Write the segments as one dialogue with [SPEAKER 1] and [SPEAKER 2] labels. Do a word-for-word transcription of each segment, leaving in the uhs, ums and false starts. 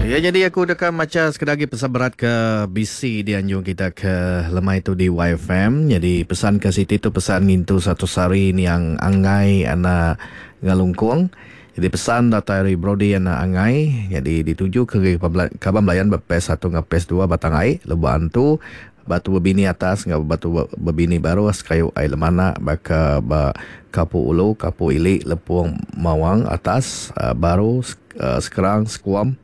[SPEAKER 1] Ya, jadi aku deka macha sekeda agi pesan berat ke bisi dianjung kita ke lemai tu di Y F M. Jadi pesan ke siti tu pesan ngintu satu sehari ni yang Angai anak Ngalungkung. Jadi pesan datai dari Brody anak Angai. Jadi dituju ke kaban belayan ber P satu dengan P dua Batang Ai, Lubok Antu, Batu Bebini atas ngau Batu Bebini baru sekayu ai Lemana baka ba Kapu Ulu, Kapu Ili, Lepung Mawang atas, baru Sekerang, Sekuam,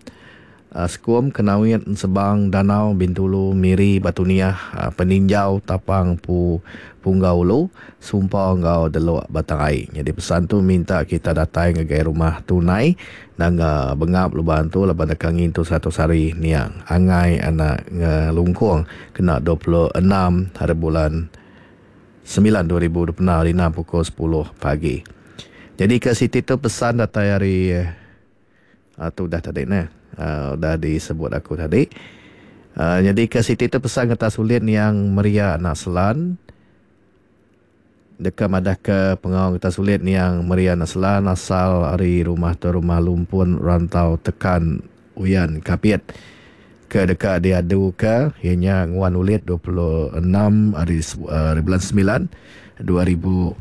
[SPEAKER 1] Sekuam, Kenawit, Sebang, Danau, Bintulu, Miri, Batu Niah, Peninjau, Tapang, Pu, Punggau Ulu, Sumpa ngau Delok Batang Ai. Jadi pesan tu minta kita datai ngagai rumah tunai nanga Bengap Lubok Antu laban deka ngintu satu sehari niang Angai anak Ngelungkung kena dua puluh enam hari bulan sembilan dua ribu dua puluh enam hari enam pukul sepuluh pagi. Jadi ke siti tu pesan datai hari uh, tu dah tadi nah. Uh, udah disebut aku tadi. Uh, jadi ke siti tu pesan kata sulit yang Maria anak Selan. Deka madah ke pengawal kata sulit yang Maria anak Selan asal ari rumah tu rumah Lumpun Rantau Tekan Uyan Kapit. Ke deka diadu ke ianya nguan ulit dua puluh enam hari, uh, hari bulan sembilan dua ribu.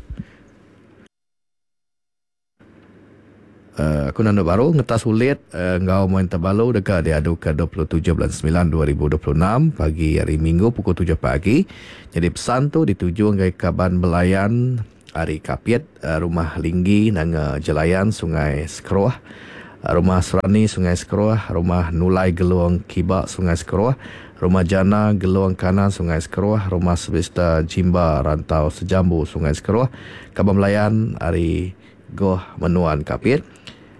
[SPEAKER 1] Uh, aku nandu baru ngetas ulit uh, ngau main terbalu deka diadu ke dua puluh tujuh bulan sembilan dua ribu dua puluh enam pagi hari Minggu pukul tujuh pagi. Jadi pesan tu dituju ngagai kaban belayan hari Kapit, uh, rumah Linggi nanga Jelayan Sungai Sekeroh, uh, rumah Serani Sungai Sekeroh, rumah Nulai Gelong Kiba Sungai Sekeroh, rumah Jana Gelong Kanan Sungai Sekeroh, rumah Sebista Jimba Rantau Sejambu Sungai Sekeroh, kaban belayan hari Goh Menuan Kapit.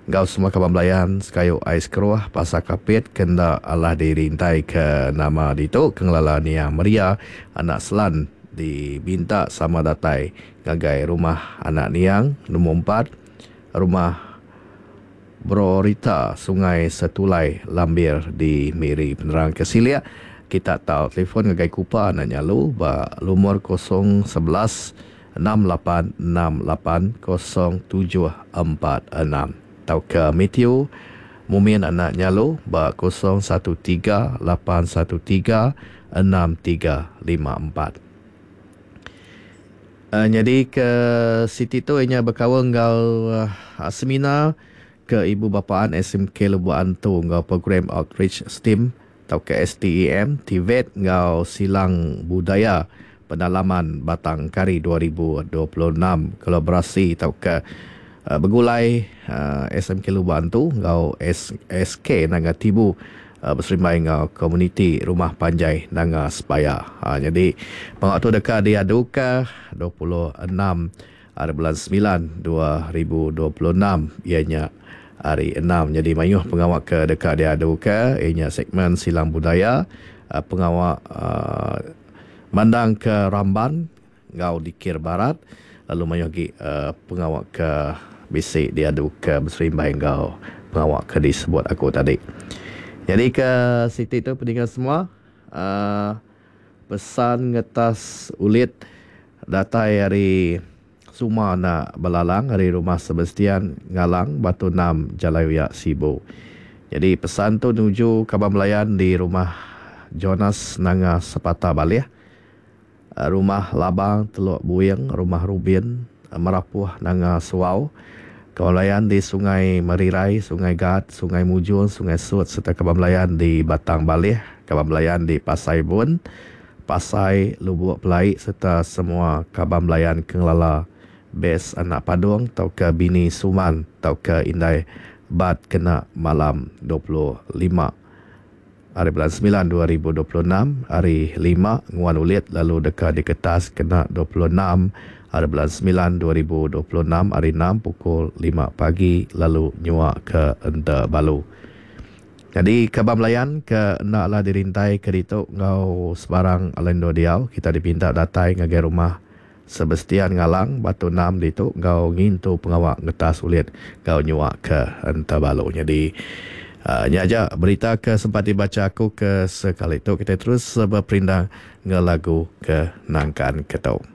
[SPEAKER 1] Gau semua kaban belayan sekayu ais keruh pasar Kapit kena Allah dirintai ke nama ditu kengelala Nia Maria anak Selan dibinta sama datai ngagai rumah anak Niang nombor empat rumah Brorita Sungai Setulai Lambir di Miri. Penerang ke silia kita tahu telefon ngagai Kupa anak Nyalu ba lumur kosong sebelas enam lapan enam lapan kosong tujuh empat enam. Tau ke Matthew Mumin anak Nyalu ba kosong satu tiga lapan satu tiga enam tiga lima empat. Uh, jadi ke siti tu inya berkawan enggau uh, seminar ke ibu bapaan S M K Lubok Antu enggau program outreach STEAM atau ke S T E M T V E T enggau Silang Budaya Pendalaman Batang Kari dua ribu dua puluh enam kolaborasi atau ke uh, bergulai uh, S M K Lubok Antu enggau S K Nanga Tibu uh, berserimbai enggau komuniti Rumah Panjai Nanga Sepaya. Ha, jadi pengawal tu deka diaduka dua puluh enam hari bulan sembilan dua ribu dua puluh enam ianya hari enam. Jadi mayuh pengawal ke deka diaduka ianya segmen Silang Budaya, uh, pengawal uh, mandang ke Ramban enggau Dikir Barat, lalu mayuh lagi uh, pengawal ke bisi diaduka berserimbai enggau pengawal ke disebut aku tadi. Jadi ke siti tu pendengar semua, uh, pesan ngetas ulit datai hari Suma anak Belalang hari rumah Sebastian Ngalang Batu Enam Jalai Uyak Sibu. Jadi pesan tu nuju kaban belayan di rumah Jonas Nanga Sepata Balih, rumah Labang Teluk Buing, rumah Rubin Merapuh Nanga Suau, kaban belayan di Sungai Merirai, Sungai Gat, Sungai Mujung, Sungai Sut serta kaban belayan di Batang Balih, kaban belayan di Pasai Bun, Pasai Lubuk Pelai serta semua kaban belayan Kengelala Bes Anak Padung tauka Bini Suman tauka Indai Bat kena malam dua puluh lima hari bulan sembilan dua ribu dua puluh enam hari lima nguan ulit lalu deka diketas kena dua puluh enam hari bulan sembilan dua ribu dua puluh enam hari enam pukul lima pagi lalu nyua ke Ente Balu. Jadi kaban belayan ke endaklah dirintai ke ditu ngau sebarang alendo diau kita dipinta datai ngagai rumah Sebastian Ngalang Batu Enam ditu ngau ngintu pengawak ngetas ulit ngau nyua ke Ente Balu. Jadi uh, nya aja berita ke sempat dibaca aku ke sekali tu. Kita terus berperindang nge lagu ke nangkan ke tau.